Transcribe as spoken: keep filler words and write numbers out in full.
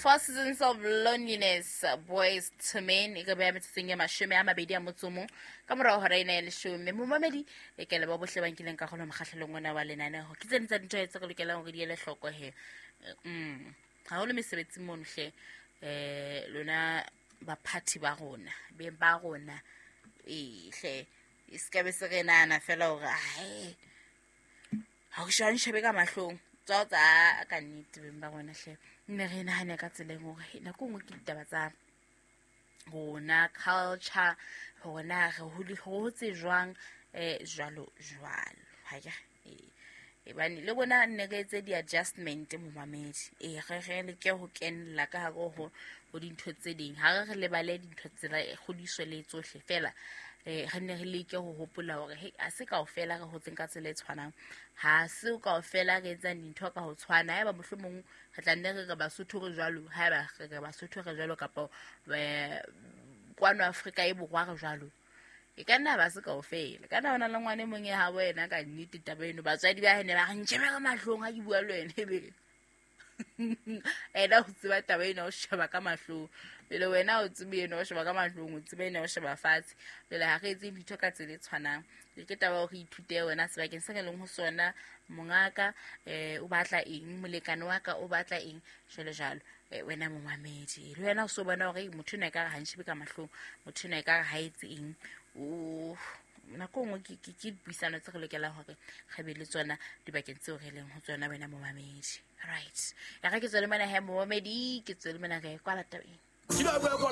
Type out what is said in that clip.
Four Seasons of Loneliness, Boys to Men, e ka beha metsotsong e mashome a mabedi a motso o mong ka morao hora ena ya leshome. Momamedi, e ke leboha bohle ba nkileng karolo mokgahlelong ona wa lenaneho. Ke tse ding tsa dintho tse re lokelang hore di ele hloko he. Mm. Haholo mesebetsing mono hle, eh lona baphathi ba rona, beng ba rona, ee hle, e se ka be se re nahana fela hore ae ha o sheba nshebe ka mahlong tswa tsa ka nnete beng ba rona hle. Nne re nahane ka tseleng hore he, nako e nngwe ke ditaba tsa rona, culture, hore na re hodi- re hotse jwang, eh jwalo jwalo. Ha ke re, eh ebane le rona nne re etse di-adjustment momamedi. Ee, re re leke ho kenella ka hare ho ho dintho tse ding. Ha re re lebale dintho tsela kgodiso le tsohle fela, eh re nne re leke ho hopola hore he, ha se kaofela re hotseng ka tsela e tshwanang, ha se kaofela re etsang dintho ka ho tshwana. Haeba mohlomong re tla nne re re Basotho re jwalo, haeba re re Basotho re jwalo kapa eh kwano Afrika e Borwa re jwalo, e ka nna ba se kaofela. Ka nna ho na le ngwana e mong e habo yena ka nnete taba eno, batswadi ba hae ne ba re ntjhebe ka mahlong ha ke bua le wena, ebe ena o tseba taba ena o sheba ka mahlong. Pele wena o tsebe ena o sheba ka mahlong, o tsebe ena o sheba fatshe. Pele ha re etse dintho ka tsela e tshwanang. Ke taba ya hore ithute wena sebakeng se re leng ho sona, mongaka eh o batla eng, molekane wa ka o batla eng, jwalo jwalo. Eh, wena momamedi, le wena o so bona hore motho ena ekare ha ntjhebe ka mahlong, motho ena ekare ha etse eng. O nako e nngwe ke ke ke dipuisano tse re lokelang hore re be le tsona dibakeng tseo re leng ho tsona, wena momamedi. Right, ya re ke tswele mona he momamedi, ke tswele mona re kwala tabeng. Kile wa bua